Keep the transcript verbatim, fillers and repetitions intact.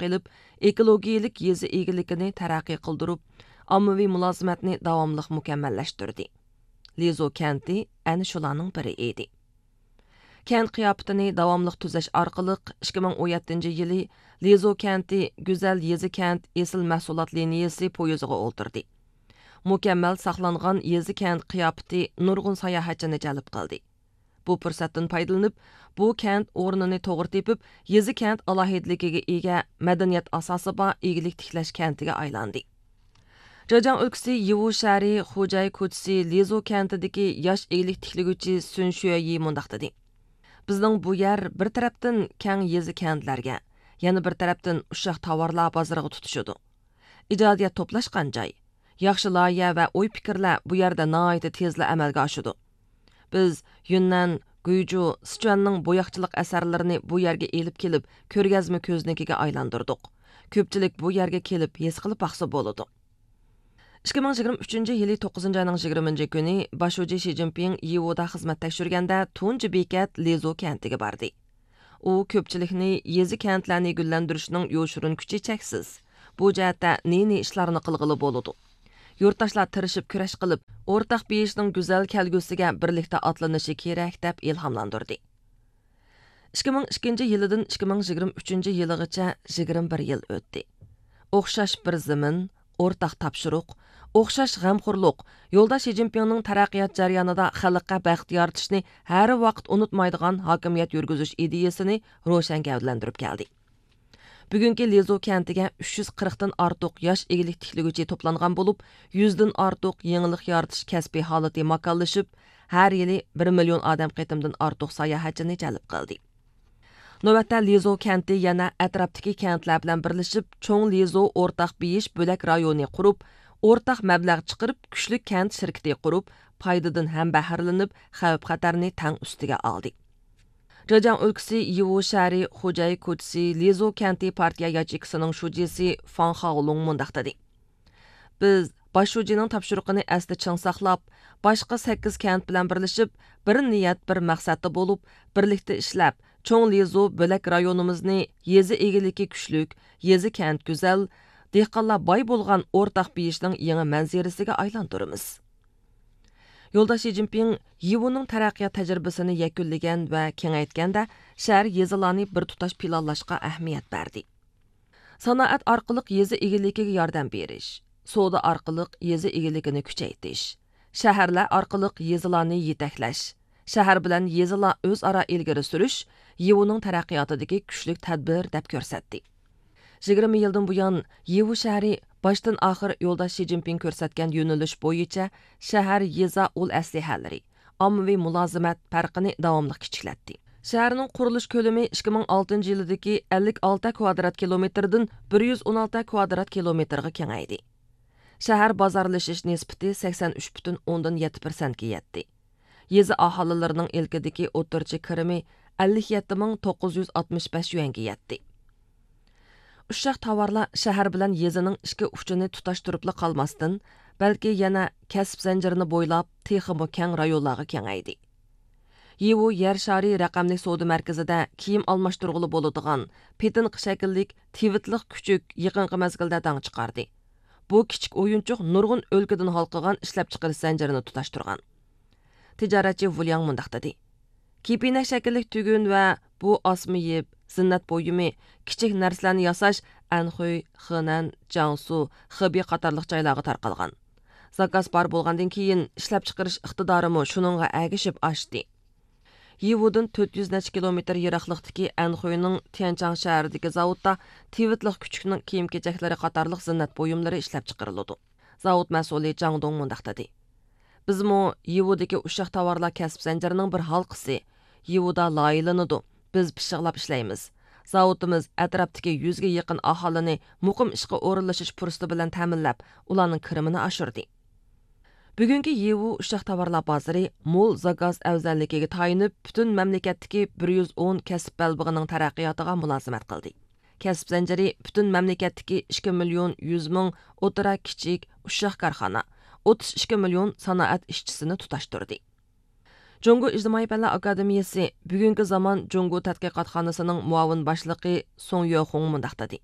قېلىپ، ئېكولوگىيىلىك يېزا ئىگىلىكىنى تەرەققىي قىلدۇرۇپ، ئاممىۋى مۇلازىمەتنى داۋاملىق مۇكەممەللەشتۈردى. لىزۇ كەنتى ئەنە شۇلارنىڭ بىرى ئىدى. كەنت قىياپىتىنى داۋاملىق تۈزەش ئارقىلىق، ئىككى مىڭ ئون يەتتىنچى يىلى لىزۇ كەنتى گۈزەل يېزا كەنت ئېسىل مەھسۇلات لىنىيىسى پويىزىغا ئولتۇردى. مۇكەممەل ساقلانغان يېزا كەنت قىياپىتى نۇرغۇن ساياھەتچىنى جەلپ قىلدى. بۇ پۇرسەتتىن پايدىلىنىپ، بۇ كەنت ئورنىنى توغرا تېپىپ، يېزا كەنت ئالاھىدىلىكىگە ئىگە، مەدەنىيەت ئاساسى بار ئىگىلىك تىكلەش كەنتىگە ئايلاندى. جېجياڭ ئۆلكىسى يىۋۇ شەھىرى خۇجەي كوچىسى لىزۇ كەنتىدىكى ياش ئىگىلىك تىكلىگۈچى سۈن شۈەيى مۇنداق دېدى: بىزنىڭ بۇ يەر بىر تەرەپتىن كەڭ يېزا كەنتلەرگە، يەنە بىر تەرەپتىن ئۇششاق تاۋارلار بازىرىغا تۇتىشىدۇ. ئىجادىيەت توپلاشقان جاي، ياخشى لايىھە ۋە ئوي پىكىرلەر بۇ يەردە ناھايىتى تېزلا ئەمەلگە ئاشىدۇ. بىز يۈننەن، گۇيجۇ، سىچۈەننىڭ بوياقچىلىق ئەسەرلىرىنى بۇ يەرگە ئېلىپ كېلىپ، كۆرگەزمە كۆزنىكىگە ئايلاندۇردۇق. كۆپچىلىك بۇ يەرگە كېلىپ ھېس قىلىپ باقسا بولىدۇ. ئىككى مىڭ يىگىرمە ئۈچىنچى يىلى توققۇزىنچى ئاينىڭ يىگىرمىنچى كۈنى باش شۇجى شى جىنپىڭ يىۋۇدا خىزمەت تەكشۈرگەندە، تۇنجى بېكەت لىزۇ كەنتىگە باردى. ئۇ كۆپچىلىكنى يېزا كەنتلەرنى گۈللەندۈرۈشنىڭ يوشۇرۇن كۈچى چەكسىز. بۇ جەھەتتە نى-نى ئىشلارنى قىلغىلى بولىدۇ. يۇرتداشلار تىرىشىپ كۈرەش قىلىپ، ئورتاق بېيىشنىڭ گۈزەل كەلگۈسىگە بىرلىكتە ئاتلىنىشى كېرەك، دەپ ئىلھاملاندۇردى. ئىككى مىڭ ئىككىنچى يىلىدىن ئىككى مىڭ يىگىرمە ئۈچىنچى يىلىغىچە يىگىرمە بىر يىل ئۆتتى. ئوخشاش بىر زېمىن، ئورتاق تاپشۇرۇق، ئوخشاش غەمخورلۇق، يولداش شى جىنپىڭنىڭ تەرەققىيات جەريانىدا خەلققە بەخت يارىتىشنى ھەر ۋاقىت ئۇنتۇمايدىغان ھاكىمىيەت يۈرگۈزۈش ئىدىيىسىنى روشەن گەۋدىلەندۈرۈپ كەلدى. بۈگۈنكى لىزۇ كەنتىگە ئۈچ يۈز قىرىقتىن ئارتۇق ياش ئىگىلىك تىكلىگۈچى توپلانغان بولۇپ، يۈزدىن ئارتۇق يېڭىلىق يارىتىش كەسپىي ھالىتى ماكانلىشىپ، ھەر يىلى بىر مىليون ئادەم قېتىمدىن ئارتۇق ساياھەتچىنى جەلپ قىلدى. نۆۋەتتە لىزۇ كەنتى يەنە ئەتراپتىكى كەنتلەر بىلەن بىرلىشىپ، چوڭ لىزۇ ئورتاق بېيىش بۆلەك رايونى قۇرۇپ، ئورتاق مەبلەغ چىقىرىپ، كۈچلۈك كەنت شىركىتى قۇرۇپ، پايدىدىن ھەم بەھرىلىنىپ، خەۋپ-خەتەرنى تەڭ ئۈستىگە ئالدى. جېجياڭ ئۆلكىسى يىۋۇ شەھىرى خۇجەي كوچىسى لىزۇ كەنتى پارتىيە ياچېيكىسىنىڭ شۇجىسى فاڭ خاۋلۇڭ مۇنداق دېدى: بىز باش شۇجىنىڭ تاپشۇرۇقىنى ئەستە چىڭ ساقلاپ، باشقا سەككىز كەنت بىلەن بىرلىشىپ، بىر نىيەت، بىر مەقسەتتە بولۇپ، بىرلىكتە ئىشلەپ، چوڭ لىزۇ بۆلەك رايونىمىزنى يېزا ئىگىلىكى كۈچلۈك، يېزا كەنت گۈزەل، دېھقانلار باي بولغان ئورتاق بېيىشنىڭ يېڭى مەنزىرىسىگە ئايلاندۇرىمىز. يولداش شى جىنپىڭ يىۋۇنىڭ تەرەققىيات تەجرىبىسىنى يەكۈنلىگەن ۋە كېڭەيتكەندە، شەھەر، يېزىلارنى بىر تۇتاش پىلانلاشقا ئەھمىيەت بەردى. سانائەت ئارقىلىق يېزا ئىگىلىكىگە ياردەم بېرىش، سودا ئارقىلىق يېزا ئىگىلىكىنى كۈچەيتىش، شەھەرلەر ئارقىلىق يېزىلارنى يېتەكلەش، شەھەر بىلەن يېزىلار ئۆزئارا ئىلگىرى سۈرۈش يىۋۇنىڭ تەرەققىياتىدىكى كۈچلۈك تەدبىر، دەپ كۆرسەتتى. يىگىرمە يىلدىن بۇيان، يىۋۇ شەھىرى باشتىن ئاخىر يولداش شى جىنپىڭ كۆرسەتكەن يۆنىلىش بويىچە شەھەر، يېزا ئۇل ئەسلىھەلىرى، ئاممىۋى مۇلازىمەت پەرقىنى داۋاملىق كىچىكلەتتى. شەھەرنىڭ قۇرۇلۇش كۆلىمى ئىككى مىڭ ئالتىنچى يىلىدىكى ئەللىك ئالتە كۋادرات كىلومېتىردىن بىر يۈز ئون ئالتە كۋادرات كىلومېتىرغا كېڭەيدى. شەھەر بازارلىشىش نىسبىتى سەكسەن ئۈچ پۈتۈن ئوندىن يەتتە پىرسەنتكە يەتتى. يېزا ئاھالىلىرىنىڭ ئىلكىدىكى ئوتتۇرىچە كىرىمى ئەللىك يەتتە مىڭ توققۇز يۈز ئاتمىش بەش يۈەنگە يەتتى. ئۇششاق تاۋارلار شەھەر بىلەن يېزىنىڭ ئىككى ئۇچىنى تۇتاشتۇرۇپلا قالماستىن، بەلكى يەنە كەسىپ زەنجىرىنى بويلاپ، تېخىمۇ كەڭ رايونلارغا كېڭەيدى. يىۋۇ يەر شارى رەقەملىك سودا مەركىزىدە كىيىم ئالماشتۇرغىلى بولىدىغان پېتىنقا شەكىللىك تىۋىتلىق كۈچۈك يېقىنقى مەزگىلدە داڭ چىقاردى. بۇ كىچىك ئويۇنچۇق نۇرغۇن ئۆلكىدىن ھالقىغان ئىشلەپچىقىرىش زەنجىرىنى تۇتاشتۇرغان. تىجارەتچى ۋۇلياڭ مۇنداق دېدى: كېپىنەك شەكىللىك تۈگۈن ۋە بۇ ئاسما يىپ، زىننەت بۇيۇمى، كىچىك نەرسىلەرنى ياساش ئەنخۇي، خېنەن، جياڭسۇ، خېبېي قاتارلىق جايلارغا تارقالغان. زاكاز بار بولغاندىن كېيىن، ئىشلەپچىقىرىش ئىقتىدارىمۇ شۇنىڭغا ئەگىشىپ ئاشتى. يىۋۇدىن تۆت يۈز نەچچە كىلومېتىر يىراقلىقتىكى ئەنخۇينىڭ تيەنچاڭ شەھىرىدىكى زاۋۇتتا تىۋىتلىق كۈچۈكنىڭ كىيىم-كېچەكلىرى قاتارلىق زىننەت بۇيۇملىرى ئىشلەپچىقىرىلىدۇ. زاۋۇت مەسئۇلى جاڭ دۇڭ مۇنداق دېدى: بىزمۇ يىۋۇدىكى ئۇششاق تاۋارلار كەسىپ زەنجىرىنىڭ بىر ھالقىسى. يىۋۇدا لايىھەلىنىدۇ، بىز پىششىقلاپ ئىشلەيمىز. زاۋۇتىمىز ئەتراپتىكى يۈزگە يېقىن ئاھالىنى مۇقىم ئىشقا ئورۇنلىشىش پۇرسىتى بىلەن تەمىنلەپ، ئۇلارنىڭ كىرىمىنى ئاشۇردى. بۈگۈنكى يىۋۇ ئۇششاق تاۋارلار بازىرى مول زاكاز ئەۋزەللىكىگە تايىنىپ، پۈتۈن مەملىكەتتىكى بىر يۈز ئون كەسىپ بەلبېغىنىڭ تەرەققىياتىغا مۇلازىمەت قىلدى. كەسىپ زەنجىرى پۈتۈن مەملىكەتتىكى ئىككى مىليون يۈز مىڭ ئوتتۇرا، كىچىك، ئۇششاق كارخانا، ئوتتۇز ئىككى مىليون سانائەت ئىشچىسىنى تۇتاشتۇردى. جۇڭگو ئىجتىمائىي پەنلەر ئاكادېمىيىسى بۈگۈنكى زامان جۇڭگو تەتقىقاتخانىسىنىڭ مۇئاۋىن باشلىقى سۇڭ يۆخۇڭ مۇنداق دېدى: